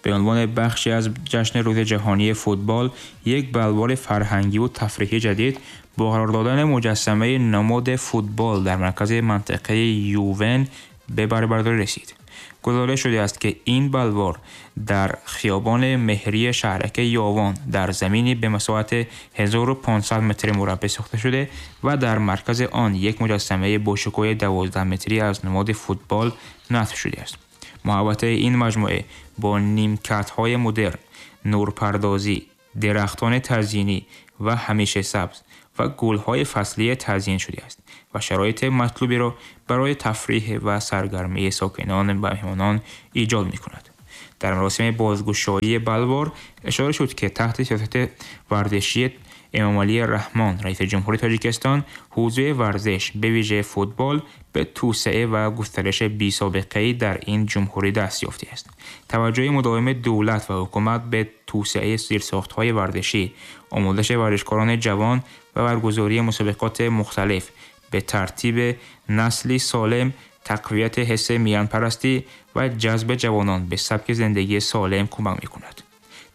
به عنوان بخشی از جشن روز جهانی فوتبال، یک بلوار فرهنگی و تفریحی جدید با قرار دادن مجسمه نماد فوتبال در مرکز منطقه یوون به بهره برداری رسید. گزارش شده است که این بلوار در خیابان مهری شهرک یاوان در زمینی به مساحت 1500 متر مربع ساخته شده و در مرکز آن یک مجسمه با شکوه 12 متری از نماد فوتبال نصب شده است. محوطه این مجموعه با نیمکت‌های مدرن، نورپردازی، درختان تزیینی و همیشه سبز و گل‌های فصلی تزیین شده است و شرایط مطلوبی را برای تفریح و سرگرمی ساکنان و مهمانان ایجاد می‌کند. در مراسم بازگشایی بلوار اشاره شد که تحت سیاست ورزشی امامعلی رحمان رئیس جمهوری تاجیکستان، حوزه ورزش به ویژه فوتبال به توسعه و گسترش بی‌سابقه‌ای در این جمهوری دست یافته است. توجه مداوم دولت و حکومت به توسعه زیرساخت‌های ورزشی، آموزش ورزشکاران جوان و برگزاری مسابقات مختلف به ترتیب نسلی سالم، تقویت حس میانپرستی و جذب جوانان به سبک زندگی سالم کمک می‌کند.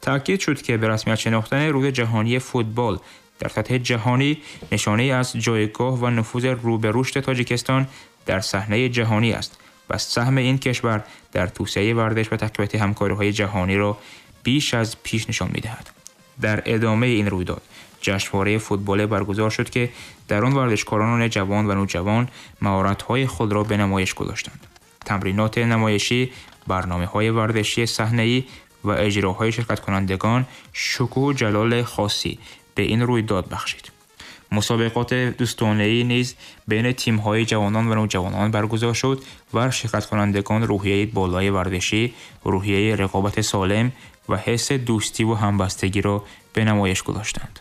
تأکید شد که به رسمیت شناختن روز جهانی فوتبال در سطح جهانی نشانه از جایگاه و نفوذ رو به رشد تاجیکستان در صحنه جهانی است و سهم این کشور در توسعه ورزش و تقویت همکاری‌های جهانی را بیش از پیش نشان می‌دهد. در ادامه این رویداد جشنواره فوتبال برگزار شد که در آن ورزشکاران جوان و نوجوان مهارت‌های خود را به نمایش گذاشتند. تمرینات نمایشی، برنامه‌های ورزشی صحنه‌ای و اجراهای شرکت کنندگان شکوه و جلال خاصی به این رویداد بخشید. مسابقات دوستانه‌ای نیز بین تیم‌های جوانان و نوجوانان برگزار شد و شرکت کنندگان روحیه بالای ورزشی، روحیه رقابت سالم و حس دوستی و همبستگی را به نمایش گذاشتند.